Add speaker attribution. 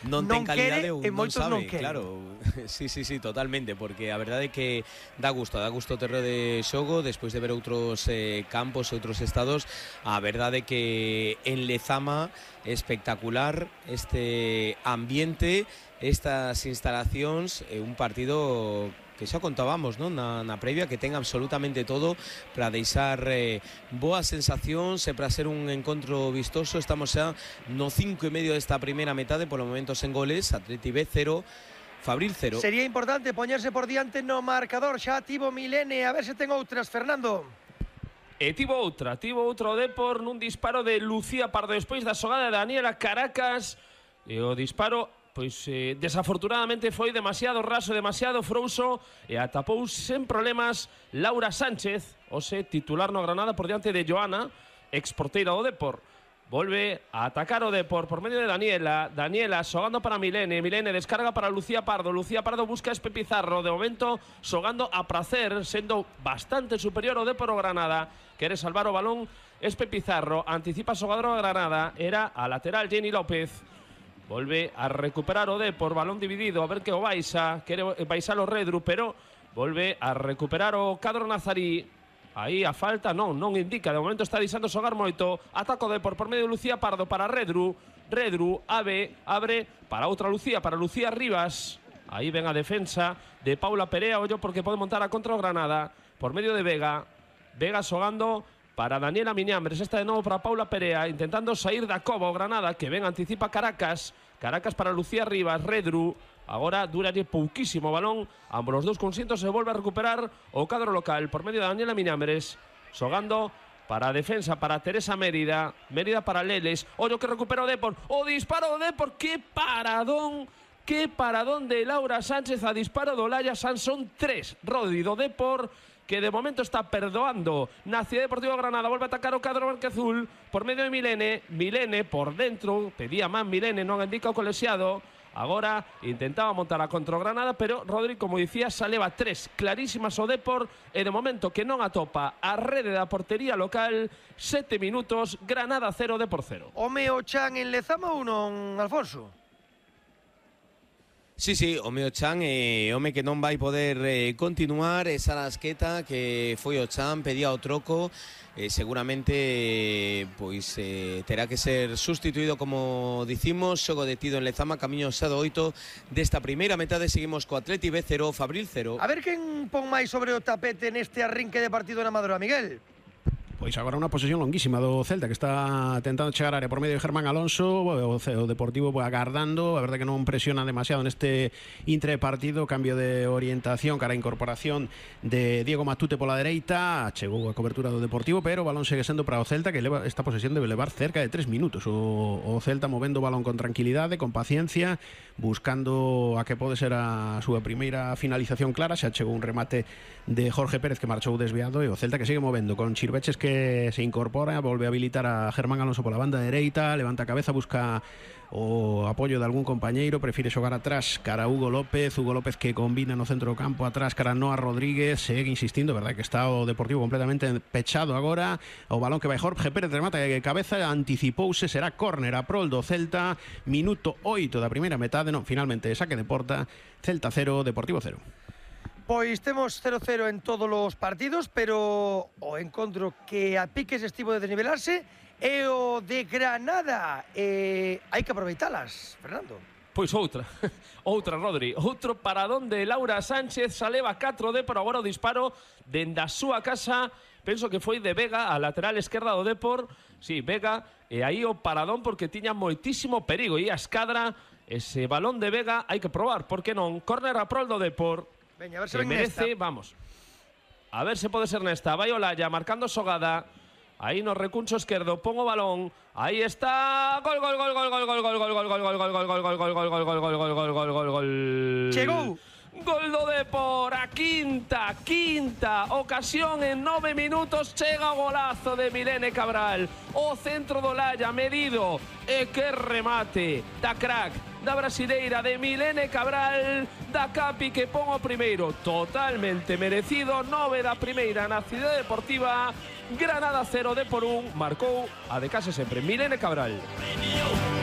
Speaker 1: non ten calidade ou
Speaker 2: e
Speaker 1: non
Speaker 2: moitos non
Speaker 1: sabe,
Speaker 2: queren.
Speaker 1: claro. Sí, totalmente, porque a verdade é que dá gusto o terreo de xogo despois de ver outros campos e outros estados. A verdade é que en Lezama espectacular este ambiente, estas instalacións, un partido que xa contábamos, non? Na previa, que ten absolutamente todo para deixar boas sensacións e para ser un encontro vistoso. Estamos xa no 5 e medio desta primeira metade, polo momento sen goles. Atleti B 0, Fabril 0.
Speaker 2: Sería importante poñerse por diante no marcador. Xa tivo Milene, a ver se ten outras, Fernando.
Speaker 3: Tivo outra o Depor nun disparo de Lucía Pardo despois da xogada de Daniela Caracas, e o disparo desafortunadamente foi demasiado raso, demasiado frouxo, e atapou sen problemas Laura Sánchez, ose titular no Granada, por diante de Joana, exporteira do Depor. Volve a atacar o Depor por medio de Daniela xogando para Milene descarga para Lucía Pardo busca a Espe Pizarro, de momento xogando a prazer, sendo bastante superior o Depor o Granada, quere salvar o balón Espe Pizarro, anticipa a xogadora do Granada, era a lateral Jenny López. Volve a recuperar o Depor, balón dividido, a ver que o baixa, quere baixar o Redru, pero volve a recuperar o Cadro Nazarí. Aí a falta non indica, de momento está deixando xogar moito. Ataco Depor por medio de Lucía Pardo para Redru, abre para outra Lucía, para Lucía Rivas. Aí ven a defensa de Paula Perea, ollo porque pode montar a contra o Granada, por medio de Vega xogando para Daniela Miñambres, esta de novo para Paula Perea, intentando sair da cova o Granada, que ben anticipa Caracas para Lucía Rivas, Redru, agora duralle pouquísimo o balón, ambos os dous conxuntos se volve a recuperar o cadro local, por medio de Daniela Miñambres, xogando para a defensa, para Teresa Mérida para Leles, ollo que recupera o Depor, o disparo do Depor, que paradón de Laura Sánchez, a disparo do Laia Sansón 3, Rodri do Depor, que de momento está perdoando na Cidade Deportiva Granada, volve a atacar o cadro branquiazul por medio de Milene por dentro, pedía man Milene, non indica o colexiado, agora intentaba montar a contra o Granada, pero Rodri, como dicía, xa leva 3 clarísimas o Depor, e de momento que non atopa a rede da portería local, 7 minutos, Granada 0, Depor 0.
Speaker 2: Home o Chan en Lezama ou non, Alfonso?
Speaker 1: Sí, o meu Chan é home que non vai poder continuar esa lasqueta que foi o Chan, pedía o troco, seguramente pois terá que ser sustituído, como dicimos. Xogo detido en Lezama, camiño xa do 8 desta primeira metade. Seguimos co Atleti B 0, Fabril 0.
Speaker 2: A ver quen pon máis sobre o tapete neste arrinque de partido na Amadora, Miguel.
Speaker 4: Pois agora unha posesión longuísima do Celta, que está tentando chegar a área por medio de Germán Alonso, o Deportivo agardando, a verdade que non presiona demasiado neste intrapartido, cambio de orientación cara a incorporación de Diego Matute pola dereita, chegou a cobertura do Deportivo, pero o balón segue sendo para o Celta, que leva esta posesión debe levar cerca de 3 minutos, o Celta movendo o balón con tranquilidade, con paciencia, buscando a que pode ser a súa primeira finalización clara. Xa chegou un remate de Jorge Pérez que marchou desviado, e o Celta que segue movendo con Chirveches, que se incorpora, volve a habilitar a Germán Alonso pola banda dereita, levanta a cabeza, busca o apoio de algún compañeiro, prefire xogar atrás cara a Hugo López que combina no centro do campo, atrás cara a Noa Rodríguez, segue insistindo, verdade que está o Deportivo completamente pechado agora, o balón que vai Jorge Pérez, remata de cabeza, anticipouse, será córner a prol do Celta, minuto 8 da primeira metade, non, finalmente saque de porta, Celta 0, Deportivo 0.
Speaker 2: Pois temos 0-0 en todos os partidos, pero o encontro que a piques estivo de desnivelarse é o de Granada. Hai que aproveitalas, Fernando.
Speaker 3: Pois outra, Rodri, outro paradón de Laura Sánchez, xa leva 4 Depor, agora o disparo dende a súa casa, penso que foi de Vega, a lateral esquerda do Depor, sí, Vega, e aí o paradón porque tiña moitísimo perigo, e a escadra, ese balón de Vega hai que probar, porque non, córner a prol do Depor.
Speaker 2: Veña, a ver se
Speaker 3: merece, vamos. A ver se pode ser nesta. Vai Olaya marcando xogada. Aí no recuncho esquerdo, pon o balón. Aí está. Gol.
Speaker 2: Chegou.
Speaker 3: Gol do Depor, a quinta ocasión en 9 minutos, chega o golazo de Milene Cabral, o centro do Olaya medido, e que remate da crack, da brasileira de Milene Cabral, da Capi que pon o primeiro, totalmente merecido, 9 da primeira na Cidade Deportiva, Granada 0, Depor 1, marcou a de case sempre Milene Cabral.